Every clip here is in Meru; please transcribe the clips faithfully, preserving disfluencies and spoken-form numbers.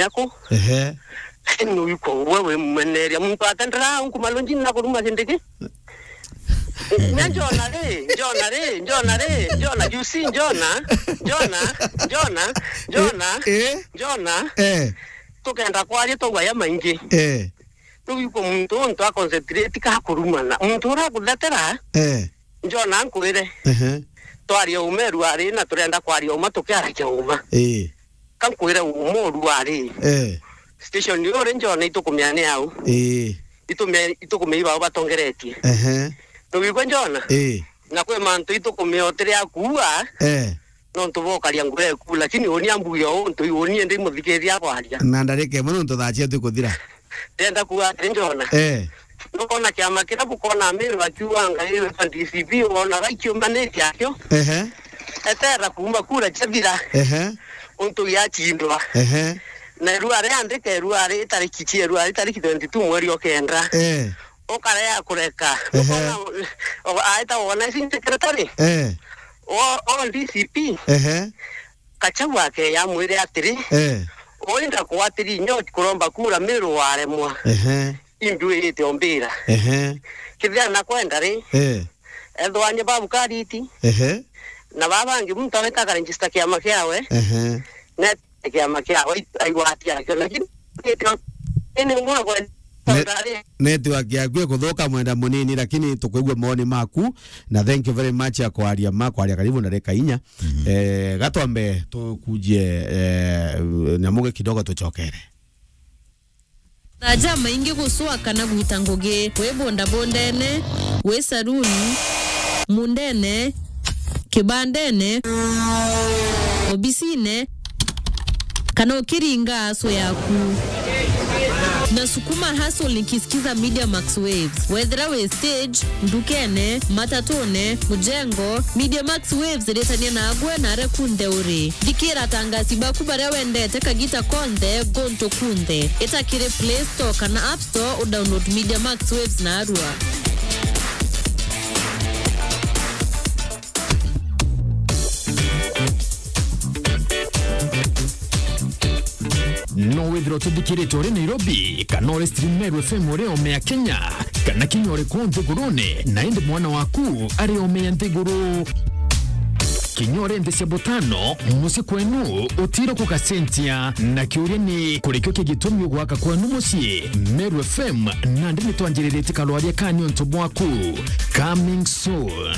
Yaku? Ehe. Lakini nuiko we wi mweneria. Muntu atendera unku malunji na kuruma kindiki. Nya Jona ri, Jona ri, Jona ri, Jona, you see Jona, Jona, Jona, Jona, Eh, eh. Jona. Eh. Tukenda kwaria twaugaya maingi. Eh. Nuiko muntu untu a concentrate ka kurumana. Muntu ura guthetera. Eh. Jona nkwire. Ehe. Twaria uma ruari na turenda kwaria uma tukiaragia uma. Eh. Ka nkwire uma ruari. Eh. Station yo ri Jona itukumia ni au. Eh. Itumia, itukumia ibao batongeretie. Ehe. Nuiko Jona? Eh. Na kwi mantu itukumia otiri akuua. Eh. Nontu bokaria ngure eku, lakini uni ambuge o untu uni ndi muthikithia kwaria. Na ndarika imwe nontu thaa cietu ikuthira. Ndenda kuuga atiri Jona. Eh. Nukona kiama kiria bukona Miru akiuga ngai wetwa D C P, wona gaikiumanitie akio. Ehe. Etera kuuma kura ciathira. Ehe. Untu giachindwa. Ehe. Na ruari andike ruari itariki cia ruari itariki twenty-two mweri o kenda. Eh. Ukarea kureka. Ehe. Ukona, o, aita wona ici secretary. Eh. O, o D C P. Ehe. Kachau ake ya mwire atiri. Eh. Oinda kwatiri nyo kuromba kura Miru waremwa. Ehe. Imbi wite ombira. Ehe. Kithia na kwenda ri. Eh. Ethwanye babu kariti. Ehe. Na baba bangi muntu aweta akaregister kiama kiawe. Ehe. Ne kiama kiawe aigwati akio, lakini ini ngwa kwa Ne-, network yaku ikuthuka mwenda munini, lakini tukwigua moni maku, na thank you very much ya kwaria ma kwaria karibu na reka inya. Mhm. Eh, gatwambe tukujie, eh, nyamuge kidogo tuchokere. Thaa jamaingi gucwa kana gwita ngugi, wi bondabondene, wi saruni, mundene, kibandene, obisine, kana ukiringa aso yaku. Na sukuma hustle nikisikiza Media Max Waves. Wethira wi stage, ndukene, matatune, mujengo, Media Max Waves iritania nagwe na aria kunthe uri. Thikira atangasi baku baria wendete kagita konthe, gontu kunthe. Ita kiri Play Store kana App Store, udownload Media Max Waves narua. No withirwa utithikirite uri Nairobi, kana uri stream Meru F M uri ome ya Kenya, kana kinya uri kuu nthigurune, na indi mwana waku ari ome ya nthiguru. Kinya uri nthi cia butano, mucii kwenu utiro kugacenjia. Na kiuria ni, kurikio ki gitumi ugwaka kwenu mucii? Meru F M, nandi nitwanjiriritie kalwaria ka niuntu bwaku. Coming soon.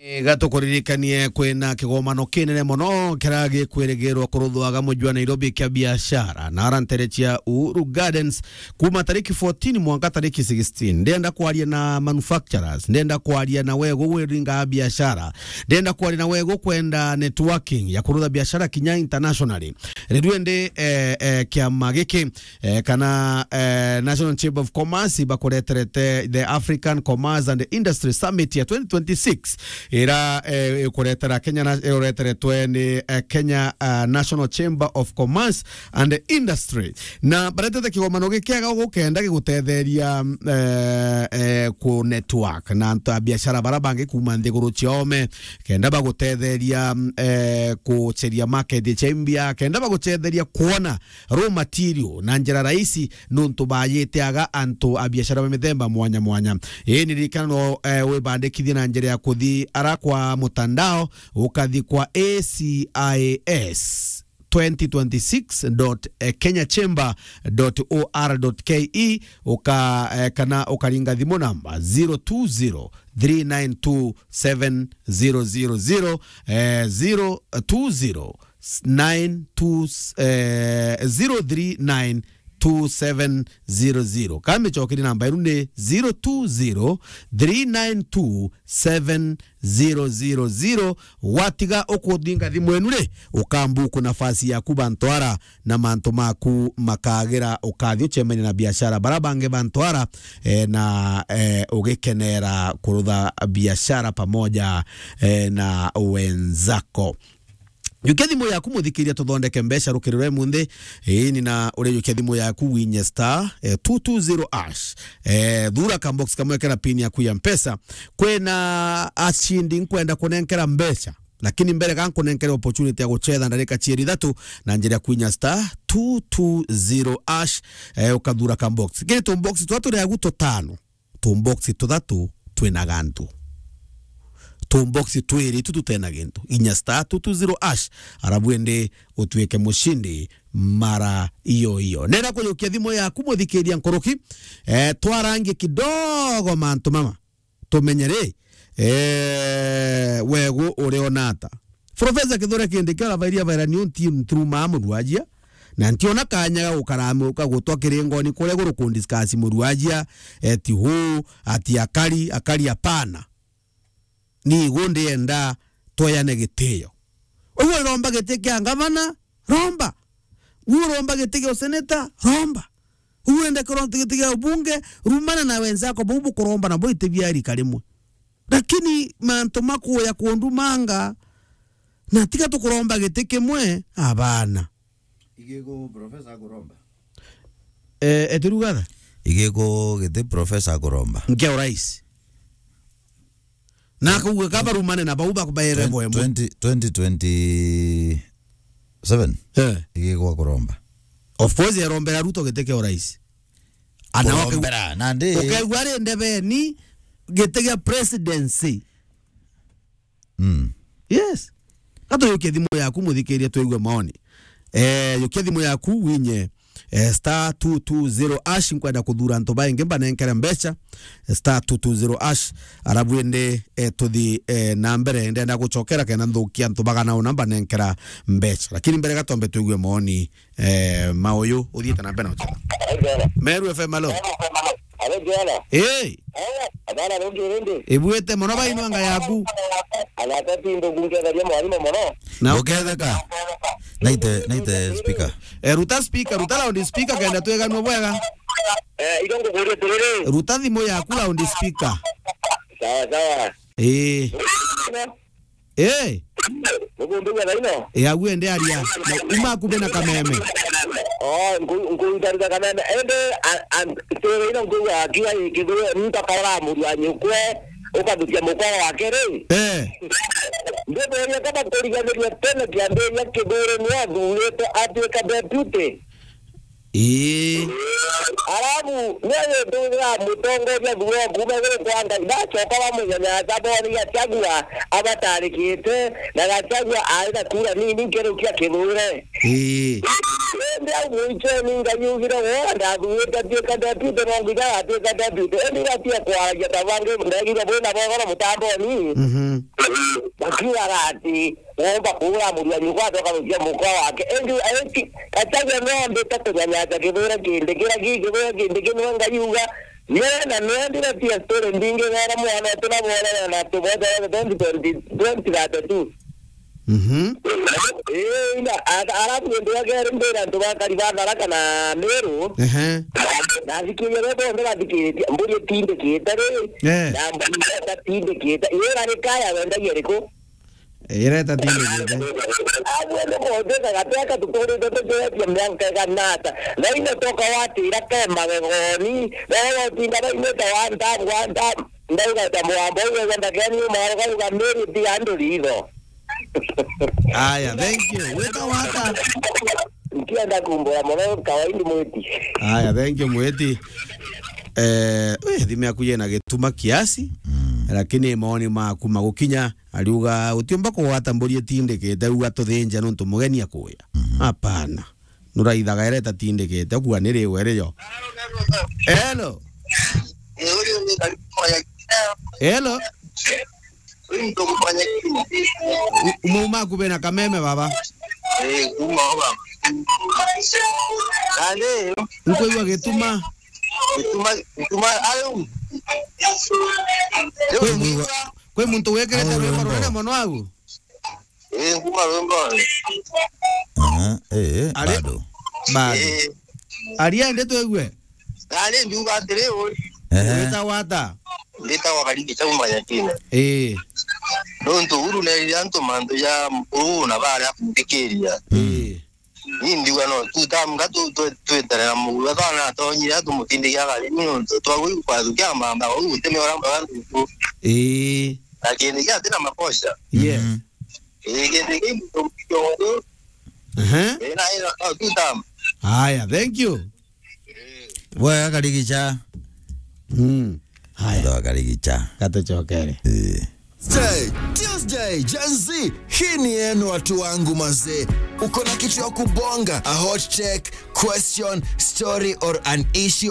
Ega tukuririkanie kwina kigomano kinene mono kiria gikwirigirwa kuruthwaga muji wa Nairobi kia biashara na ara ntere cia Uhuru Gardens kuma tariki fourteen mwanka tariki sixteen. Ndenda kwaria na manufacturers, ndenda kwaria na wego wiringa biashara, ndenda kwaria na wego kwenda networking ya kurutha biashara kinya internationally. Riu indi, eh, eh, kiama giki eh, kana, eh, National Chamber of Commerce bakureterete the African Commerce and Industry Summit ya twenty twenty-six, ira, eh, ikuretera Kenya na, ireteretwe ni, eh, Kenya, ah, National Chamber of Commerce and Industry. Na baretete kigomano gikiega gukenda gigutetheria, eh, eh, ku network na antu a biashara bara bangi kuma nthiguru ciome, kenda bagutetheria, eh, kuceria market cia imbia, kenda bagutetheria kuona raw material na njira rahisi, nontu bayiteaga antu a biashara ba mithemba mwanya mwanya. Ii ni ririkana no, eh, wibandikithie na njira ya kuthi ara kwa mutandao, ukathi kwa A C I S twenty twenty-six dot kenya chamber dot O R dot K E, uka, eh, kana ukaringa thimu namba zero two zero three nine two seven zero zero zero, eh, zero two zero nine two, eh, zero three nine two seven zero zero. Ka micokeri namba iru ni zero two zero three nine two seven zero zero zero. Watiga ukuthinga thimu enu ri, ukambuku nafasi yaku bantwara na mantu maku makagira, ukathi ucemania na biashara bara bangi bantwara, eh, na, eh, ugikenera kurutha biashara pamoja, eh, na wenzako. Jukia thimu yaku, muthikiria, tuthondeke mbeca rukiri rwa imunthi. Ii, ni na uria jukia thimu yaku winye star, eh, two two zero hash. Eh, thura ka box kamwe kena pin yaku ya Mpesa. Kwina acindi nkwenda kunenkera mbeca. Lakini mbere ga nkunenkere opportunity ya guchetha ndarika cieri ithatu na njira ya kwinya star two two zero hash, eh, ukathura ka box. Kiri tu box twa turi agu tutano. Tu box tuthatu twina gantu. Tu box twiri tu tutena gintu. Inya star two two zero hash, arabu ende utuike mushindi mara iyo iyo. Nenda kujukia thimu yaku, muthikiria nkuruki, eh, twarangie kidogo mantu mama. Tumenye ri, eh, wegu uriona ata? Professor Kithure Kindiki arabairia baira ni unti ntiruma muruajia, na ntiona kanya ga gukara amuka gutwa kiringoni kuria guru ku discuss muruajia, eti hu, ati akari, akari, apana. Ni igu ndienda tweyane gitio. Uguo uromba giti kia ngavana, romba. Uguo uromba giti kia useneta, romba. Uguo urenda kuromba giti kia ubunge, rumana na wenzako bau bukuromba na boite biarika rimwe. Lakini mantu makuya kundumanga, na tiga tukuromba giti kimwe, abana. Igiku professor akuromba. Eh, etirugatha? Igiku giti professor akuromba. Nkia urais. Na akauga kabarumane na bau bakubaere boemo. Twenty, twenty twenty-seven. Eh. Igigwa kuromba. Of course, erombera Ruto giti kia urais. Ana wake kurombera, nandi. Ukaigua ari ndebeni giti kia presidency. Mm. Yes. Gato yukia thimu yaku, muthikiria, twigue maoni. Eh, yukia thimu yaku, winye, eh, star two two zero hash, nkwenda kuthura antu baingi mbanenkere mbeca, eh, star two two zero hash, arabu indi, eh, tuthi, eh, na mbere, ndenda gucokera kenda nthukia antu bagana una mbanenkera mbeca. Lakini mbere gatombe twigue maoni, eh, ma uyu uthiite na mbere na gucokera. Meru F M, alo. Alo, Joana. Hey. Abana, rundi, rundi. Ibwite mono bainwa nga yaku. Anatati ndo kungetheria mwarimu mono. Na uketheka. Naite, naite speaker. Eh, ruta speaker, ruta loud speaker kenda tweganua bwega. Eh, igo ngukuria tiriri. Ruta thimu yaku loud speaker. Sawa, sawa. Eh. Eh. Nukumbiga thaino? Eh, agu ende aria. Na uma akube na kameme. Oh, nku-, nkuruta ruta kameme. Ende, a-, a-, story ino nkuga akiwa ikithwe, mtu akora muru wa nyukwe, ukarutia mukwa wake ri. Eh. Ndithuria kana kuriganiria tene kiambiria Kithure ni athurite atuika deputy. Ii. Arabu, ni agituthira mutongoria thuro kuuma iguru kwa Ngai, ndacoka bamunyanyasa boni Gachagua abatarikite, na Gachagua ari na kura nini nkerukia Kithure. Ii. Indi au mwichoni Ngai ugire, wona ndathurite atuika deputy, no nginya atuika deputy. Indi gatia kwaragia ta bangi, ndegire bwina bogoro mutamboni. Mhm. Bakiugaga ati, womba kuura muru wa nyukwa, acoka gukia mukwa wake. Indi, indi, Gachagua no ambite kunyanyasa Kithure kindi, kira ki Kithure kindi, ki niwe Ngai uga, niwe na niwe ndire tia story mbingi, wera mwana wetu na bwona na tubwete twenty twenty, twenty thirty-two. Mhm. Ii, ina, a-, arabu gintu gia keri mbira antu bakari ba Tharaka na Meru. Ehe. Nathikiria be bonthe bathikiritie, mburi itindikite ri, eh, na mburi itatindikite. Ira ni kaya wendagia riku? Ireta tindikite. Agwe nukuthika gateka tuturite tukiretia mianka igana ata. Na ino toka watira ke magegoni. Na watinda bainite one time, one time. Ndauga ta mwamba uga ndakeni umaro kauga miri ti andu ritho. Aya, thank you. Weta wata. Nkienda kumbura mono kawaindi mwiti. Aya, thank you mwiti. Eh, we, thimu yaku yena gituma kiasi, mm, lakini maoni maku magukinya, ariuga, utiumba kugwata mburi itindikite, uga tuthinje nontu mugeni akuya. Mhm. Hapana. Nuraithaga ira itatindikite, ukua ni riu iri yo. Hello. Hello. U-, umauma aku bena kameme, baba? Eh, kuma baba. Nandi? Nkwigua gituma. Gituma, gituma, ayu. Kwi mu-, kwi muntu wikirite rwimbo runene mono au? Eh, kuma rwimbo. Aha, eh, eh, ari-, bado. Bado. Eh. Aria indi twigue. Nandi ndiuga atiri, ui. Ehe. Witagwa ata? Nditagwa Karigi Chauma Nyatina. Ii. Nontu Uhuru neerire antu mantu ja uu na baria kuthikiria. Ii. Ni ndiuga no two term nga tu-, tu-, tweterera Uhuru. Ethana atonyire atumutindike agari, ni nontu twagui kwathukia mamba, uu guteme ora mbaga ntuku. Ii. Na kindi kia atina makosa. Yes. Mhm. Ii, kindi ki muntu kiongo. Ehe. Ii, na ina, no, two term. Haya, thank you. Bwega Karigicha. Mm. Haya. Ndo Karigicha. Katucokere. Eh. Tuesday, Tuesday, Gen Z. Hii ni yenu watu wangu mazee. Uko na kitu ya kubonga, a hot take, question, story or an issue